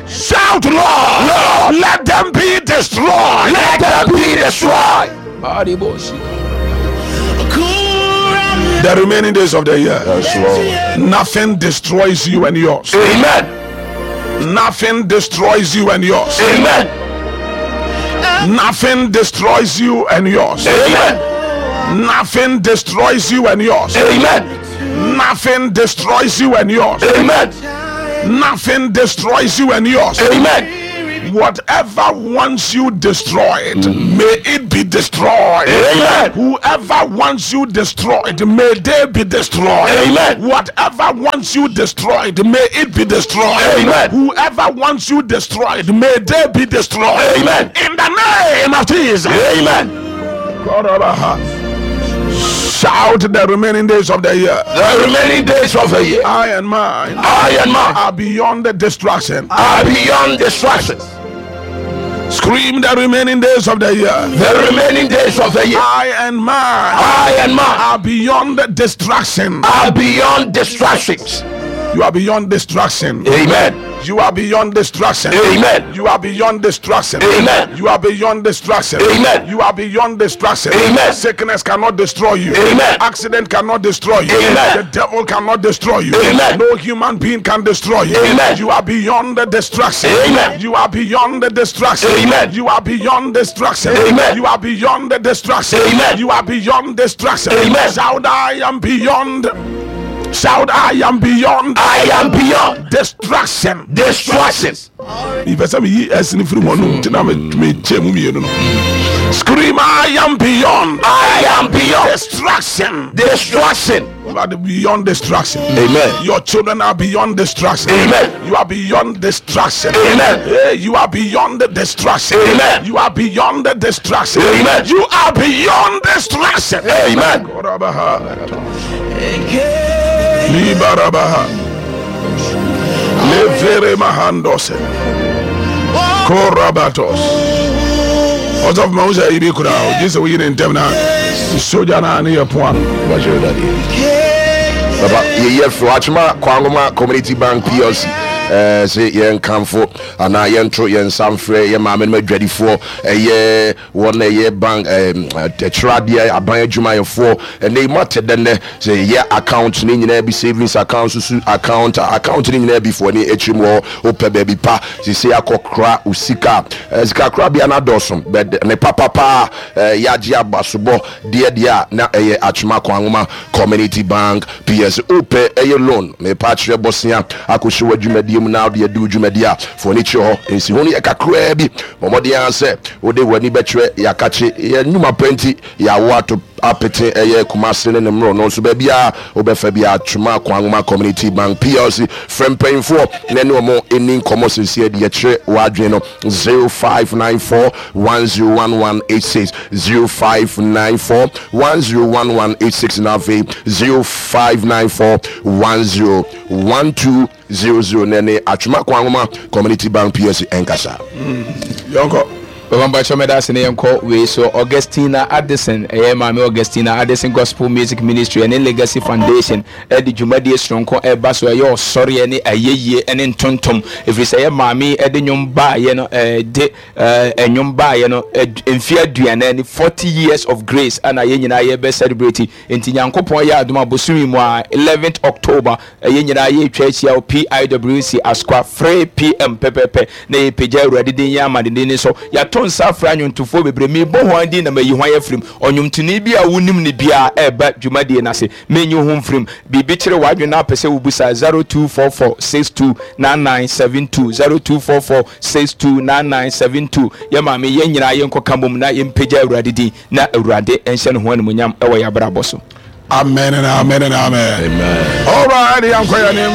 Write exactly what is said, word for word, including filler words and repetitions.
Shout, Lord. Lord. Let them be destroyed. Let them be destroyed. The remaining days of the year. Yes, Lord. Nothing destroys you and yours. Amen. Nothing destroys you and yours. Amen. Nothing destroys you and yours. Amen. Nothing destroys you and yours. Amen. Nothing destroys you and yours. Amen. Nothing destroys you and yours. Amen. Whatever wants you destroyed, may it be destroyed. Amen. Whoever wants you destroyed, may they be destroyed. Amen. Whatever wants you destroyed, may it be destroyed. Amen. Whoever wants you destroyed, may they be destroyed. Amen. In the name of Jesus. Amen. Shout the remaining days of the year. The remaining days of the year, I and mine I and mine are beyond the destruction. are beyond destruction. Scream the remaining days of the year. The remaining days of the year, I and mine I and mine are beyond destruction. are beyond distractions. You are beyond destruction. Amen. You are beyond destruction. Amen. You are beyond destruction. Amen. You are beyond destruction. Amen. You are beyond destruction. Amen. Sickness cannot destroy you. Amen. Accident cannot destroy you. Amen. The devil cannot destroy you. Amen. No human being can destroy you. Amen. You are beyond the destruction. Amen. You are beyond the destruction. Amen. You are beyond destruction. Amen. You are beyond the destruction. Amen. You are beyond destruction. Amen. Shout, I am beyond. Shout, I am beyond I am beyond destruction. destruction. Mepɛ sɛ meyi ɛse no firi mu ɔno nti na mekyɛ mu mmienu no. Scream, I am beyond I am beyond destruction. destruction. You are beyond destruction. Amen. Your children are beyond destruction. Amen. You are beyond destruction. Amen. Hey, you are beyond the destruction. Amen. You are beyond the destruction. Amen. You are beyond destruction. Amen. Korabaha. Libarabaha. Levere mahandose. Korabatos. Ɔsɔfo ma wo sɛ ibi kura o gye sɛ woyi ne ntɛm na sogya na ne yɛ poa no. Papa, yɛyɛ firi Atwima Kwanwoma Community Bank P L C ɛɛ sɛ yɛnkamfo anaa yɛnto yɛn nsa mfrɛ yɛ maame no adwadifoɔ, ɛyɛ wɔn a ɛyɛ bank ɛɛm ɛkyerɛadeɛ aban adwumayɛfoɔ. Ɛnɛ yi mo ate dɛ nnɛ sɛ yɛyɛ account ne nyinaa bi, savings account, susu account, account ne nyinaa bi foɔ ne akyiri mu hɔ. Wopɛ baabi pa sisi akɔkora wo sika, ɛɛ sika korabea no adɔɔso bɛ ne papapa ɛɛ yɛagye abasobɔ deɛ deɛ a na ɛyɛ Atwima Kwanwoma Community Bank P L C. Wopɛ ɛyɛ loan, mepa akyerɛ bɔsea akɔhyɛ w'adwumadie mu na wode adi wo dwumadie a, fo ani kyerɛ hɔ. Nsi ho no yɛ kakraa bi. Bɔ mmɔden ara sɛ wode w'ani bɛkyerɛ yɛakakye yɛ nnwuma pa nti yɛawo ato apete ɛyɛ Kumase ne ne mmerɛ no nso baabiaa wobɛfa bi. Atwima Kwanwoma Community Bank P L C, frɛ mpanyimfoɔ na ne ɔmo ɛni nkɔmmɔ seesie de yɛkyerɛ w'adwene no: zero five nine four one zero one one eight six, zero five nine four one zero one one eight six, na afei zero five nine four one zero one two zero zero na ne Atwima Kwanwoma Community Bank P L C ɛnkasa. Yɔnkɔ. Bàbá Mbakyɛ, mɛda ase ne yɛnkɔ wei so. Augustina Addison, ɛyɛ maame Augustina Addison Gospel Music Ministry ɛne Legacy Foundation ɛde dwumadie soronko ɛba so, ɛyɛ ɔsɔreɛ ne ayɛyie ɛne ntontom, ɛfiri sɛ ɛyɛ maame ɛde nnwom baayɛ no, ɛde ɛɛ ɛnwom baayɛ no mfe aduanan ne forty years of grace ɛna yɛn nyinaa yɛbɛ celebrate. Nti Nyankopɔn yɛ adom abosomi mu a, eleventh October, ɛyɛ nyinaa yɛtwa ahyia wɔ P I W C Asokwa, three p m pɛpɛpɛ, na yɛpagya Awurade din yɛ amadeden ne so. Yɛato nsa afra nnwontofoɔ bebree. Mebɔ ho din na mayi ho ayɛ firim. Ɔnwomtoni bi a wonim ne biara ɛreba dwumadie no ase, menyi ho mfirim. Biribi kyerɛ w'adwene na apɛ sɛ wobusa: zero two four four six two nine nine seven two, zero two four four six two nine nine seven two. Yɛ maame, yɛn nyinaa yɛnkɔka mmom na yɛmpagya Awurade din na Awurade nhyɛ ne ho animonyam ɛwɔ yɛ abrabɔ so. Amen and amen and amen. Amen. All right, yɛnkɔ yɛn anim.